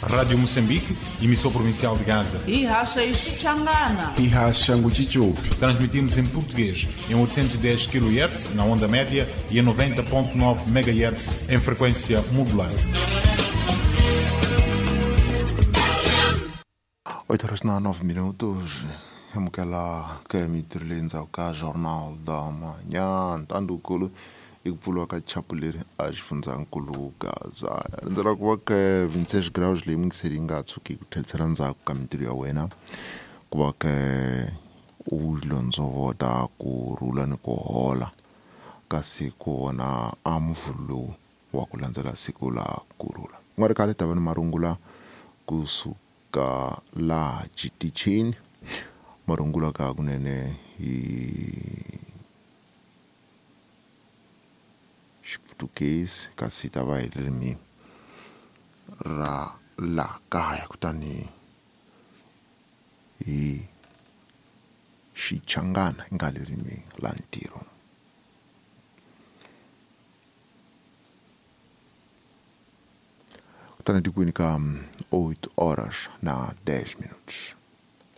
Rádio Moçambique, emissora provincial de Gaza. Hi haxa hi Xichangana. Hi haxa Nguchichupi. Transmitimos em português em 810 kHz na onda média e em 90.9 MHz em frequência modulada. 8 horas na 9 minutos. Amukela ka mintirho leyi ndzhaku ka Jornal da Manhã. Ntandukulu i ku pfuriwa ka chapu leri a xifundzankulu Gaza. Rindzela ku va ka 26 graus leyi mingiseri yi nga tshuki ku tlherisela ndzhaku ka mintirho ya wena ku va ka u londzovota ku rhula ni ku hola kasi ku vona a muvhulu lowu wa ku landzela siku la ku rhula. Ku nga ri khale ta va ni marungula kusuka laha xitichini, marungula ka kunene hi Xiputukezi kasi ta va hi ririmi ra laha kaya kutani hi Xichangana yi nga ririmi la ntirho. Kutani tikweni ka 8 horas na 10 minutos.